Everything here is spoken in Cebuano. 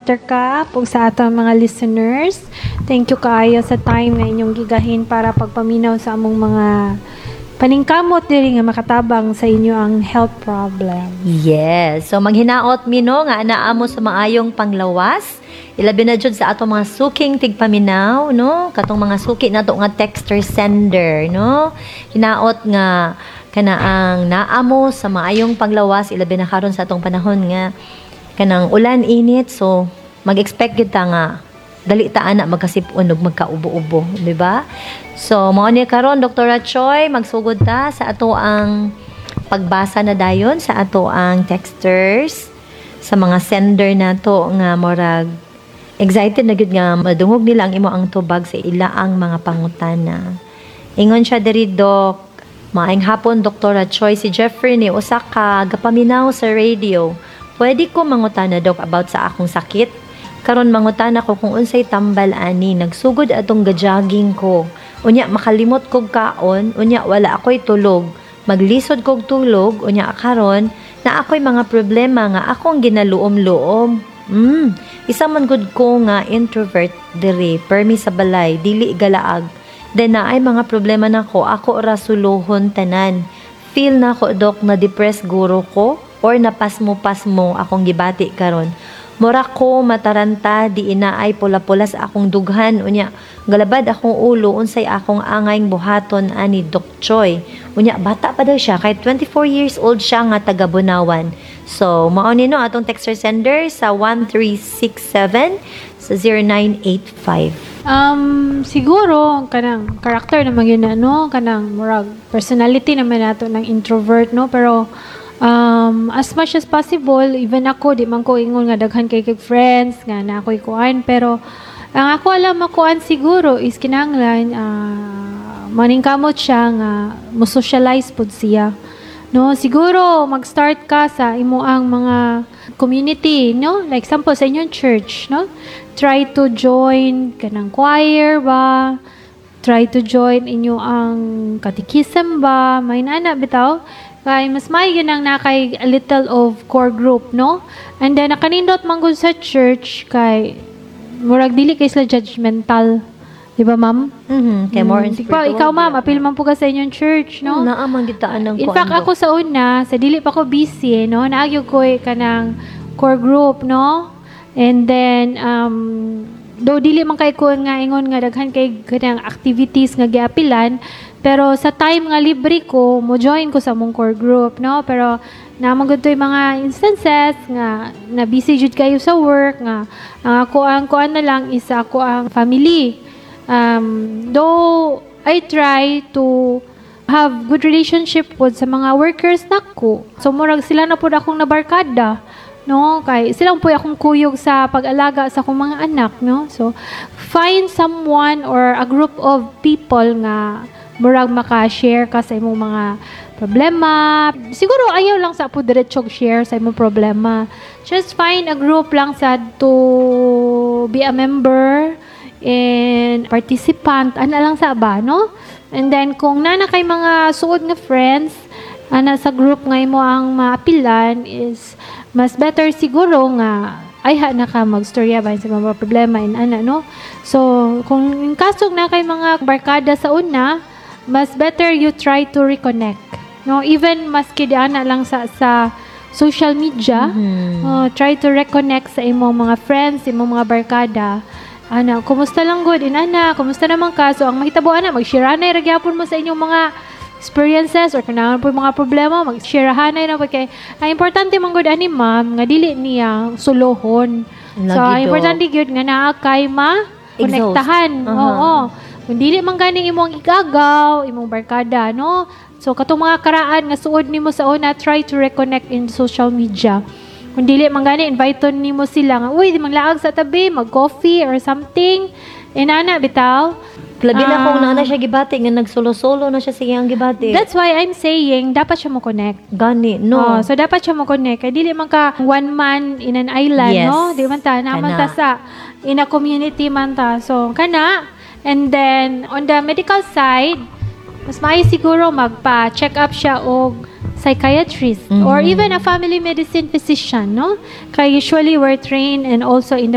Dr. Cap, ug sa atong mga listeners. Thank you kaayo sa time nga inyong gigahin para pagpaminaw sa among mga paningkamot diri nga makatabang sa inyo ang health problem. Yes. So maghinaot mi, no, nga anaa mo sa maayong panglawas. Ilabi na jud sa atong mga suking tigpaminaw, no? Katong mga suki nato nga texter sender, no? Hinaot nga kana ang naa mo sa maayong panglawas, ilabi na karon sa atong panahon nga kanang ulan, init, so mag-expect kita nga dali ta ana magkasipon ug magkaubo-ubo, di ba? So mao ni karon, Dr. Choi, magsugod ta sa ato ang pagbasa na dayon sa ato ang texters, sa mga sender nato nga murag excited na gyud nga madungog nila ang imo ang tubag sa ila ang mga pangutana. Ingon siya diri, Doc: "Maayong hapon, Dr. Choi. Si Jeffrey ni, usa ka gapaminaw sa radio. Pwede ko mangutana, Doc, about sa akong sakit? Karon mangutana ko kung unsay tambal ani. Nagsugod atong gajogging ko. Unya makalimot kog kaon, unya wala ako'y tulog. Maglisod kog tulog, unya karon na ako'y mga problema nga akong ginaluom-luom. Isa man gud ko nga introvert diri, permi sa balay, dili galaag. Then naay mga problema nako, ako ra suluhon tanan. Feel na ko, Dok, na depressed guro ko or napasmo-pasmo akong gibati karon. Mura ko mataranta, di inaay pula-pula sa akong dughan, unya galabad akong ulo. Unsay akong angayng buhaton ani, Doc Choi?" Unya bata pa daw siya, kahit 24 years old siya nga taga Bunawan. So mao ni, no, atong texter sender sa 1367 sa 0985. Siguro kanang character naman yun na, no, kanang murag personality naman nato ng introvert, no, pero as much as possible, even ako, di man ko ingon nga daghan kay kag friends nga na ako'y kuan, pero ang ako alam makuan siguro is kinahanglan maningkamot siya nga mo socialize pud siya. No, siguro mag-start ka sa imo ang mga community, no? Like example sa inyong church, no? Try to join kanang choir ba? Try to join inyo ang catechism ba? May nana bitaw. Kay mas may yun ang nakay a little of core group, no? And then nakanindot man gud sa church kay murag dili kay sila judgmental. Di ba, ma'am? Mhm, kay more Ikaw, ikaw, ma'am, apil man po ka sa inyong church, no? Naa man gitaan ng In fact, ako sa una, sa dili pa ko busy, no? Naagyo ko eh, kanang core group, no? And then, though dili man kay ko nga ingon nga daghan kay kanang activities nga giapilan, pero sa time nga libre ko, mo join ko sa mong core group, no? Pero naman gud to'y mga instances nga na busy jud kayo sa work nga ang ako ang kuan na lang is ako ang family. Though I try to have good relationship pod sa mga workers nako. So murag sila na pod akong nabarkada, no? Kay sila po akong kuyog sa pag-alaga sa akong mga anak, no? So find someone or a group of people nga murag maka-share ka sa imong mga problema. Siguro ayaw lang sa po diretsog share sa imong problema. Just find a group lang sa to be a member and participant ana lang sa ba, no? And then kung nana kay mga suod nga friends ana sa group nga imo ang maapilan is mas better siguro nga ay ha na ka magstorya ba sa mga problema in ana, no? So kung in kaso na kay mga barkada sa una, mas better you try to reconnect, no? Even maski di ana lang sa social media. Oh, try to reconnect sa imong mga friends, imong mga barkada. Ana, kumusta lang good? Inana, kumusta naman ka? So, ang mahitabo ana, mag-share na ra gyapon mo sa inyong mga experiences or kung naa po mga problema, mag-share na po kay ang importante man gud ani, ma'am, nga dili niya sulohon. So, Lagi, ang Dok. Importante gyud nga naa kay ma konektahan. Exhaust. Oo. Kung dili man gani imong igagaw, imong barkada, no? So, katong mga karaan nga suod nimo sa una, try to reconnect in social media. Kung dili man gani, invite nimo sila nga, "Uy, di manglaag sa tabi, mag-coffee or something." Inana, bitaw. Labi na kung Ah. naa na siya gibati nga nagsulo-solo na siya sa iyang gibati. That's why I'm saying, dapat siya mo connect. Gani, no. Oh, so dapat siya mo connect. Kay dili man ka one man in an island, no? Di man ta, naman ta Kana. Sa in a community man ta. So kana, and then on the medical side, mas maayo siguro magpa-check up siya og psychiatrist or even a family medicine physician, no? Kay usually we're trained and also in the